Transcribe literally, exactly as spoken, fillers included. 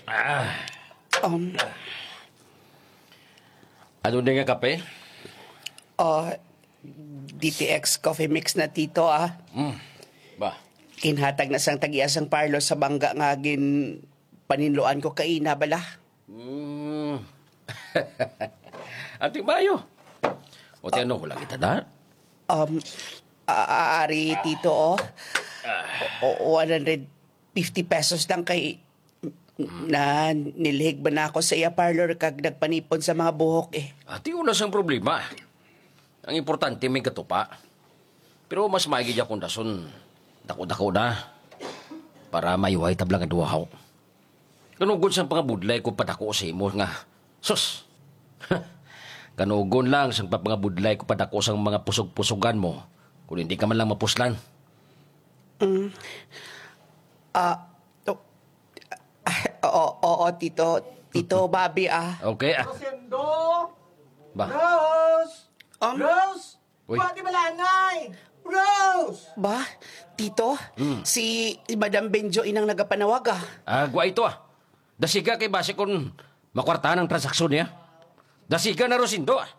Ah, Um, ano din nga kape? Oh, D T X coffee mix na, Tito, ah. Mm. Ba? Ginhatag na sang tag-iya sang parlor sa bangga nga gin paninluan ko kaina bala. Mm. Ati Mayo. O ti ano, wala kita na? Um, a- a- ari, Tito, oh. O, o, one hundred fifty pesos lang kay na nilhig ba na ako sa iya parlor kag nagpanipon sa mga buhok eh. Ati, wala sang problema. Ang importante may katupa. Pero mas maigi akong dason, dako-dako na. Para mayuhay tabla nga duha. Kanugon sang pangabudlay ko padako sa imo nga, sus! Kanugon lang sang pangabudlay ko padako sang mga pusog-pusugan mo, kung hindi ka man lang mapuslan. Ah, to, oo, oo, Tito, Tito Bobby, ah. Okay, ah. Rosendo! Ba? Rose! Um, Rose! Uy. Pati malanay! Rose! Ba, Tito, si Madam Benjo inang nagapanawag, ah. Ah, gwa ito ah. Dasiga kay base kung makwartahan ang transaksyon niya. Dasiga na, Rosendo, ah.